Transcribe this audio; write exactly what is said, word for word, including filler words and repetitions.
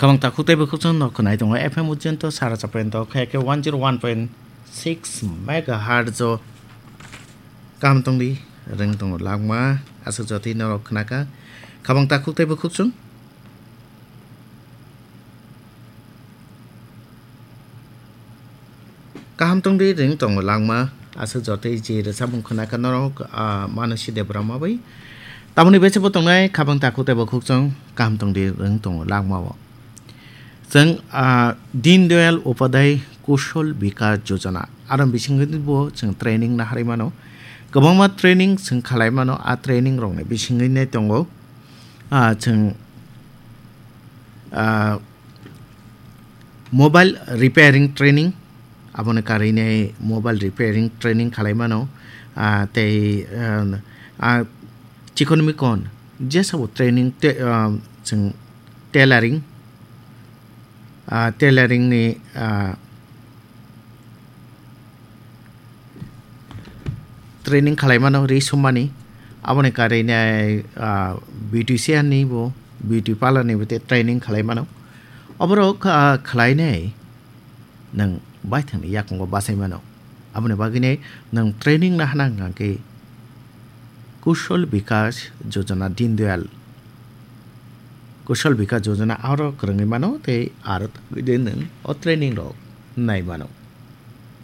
Khabang takhuk tei bukhuk chwng no khwnai tongo F M Ujjayanta sara chapento khe khe one zero one point six megahertz o. Kaham tongdi, rwng tongo langma, aswk jotwi norok khnakha. Khabang takhuk tei bukhuk chwng. Kaham tongdi, rwng tongo langma, aswk jotwi je rwchapmung khnakha norok, ah, Manasi Debbarma bai. Tamoni bese bo tongnai khabang takhuk tei bukhuk chwng, kaham tongdi, rwng tongo langma o. Chwng, ah, Deen Dayal Upadhyay Kaushal Vikas Yojana, aro bisingtwi bo chwng training naharwi mano. Kwbangma training chwng khalai mano, a training rokni bisingtwi nai tongo, ah, chwng, ah, mobile repairing training, aboni karwi nai mobile repairing training khalai mano, ah, tei, ah, ah, chikon mikon jesa bo training te, ah, chwng tailoring, ah, tailoring ni, ah, training khalai mano ri sumani, aboni karwi nai, ah, beautician ni bo, beauty parlour ni bo te training khalai mano. Oborok, ah, khlai nai nwng baithangni yakungo bachai mano. Aboni bagwi nai nwng training nahana hwnkha khe Kaushal Vikas Yojana, Deen Dayal Kaushal Vikas Yojana aro kwrwngwi mano tei aro tangwi de nwng o training rok nai mano.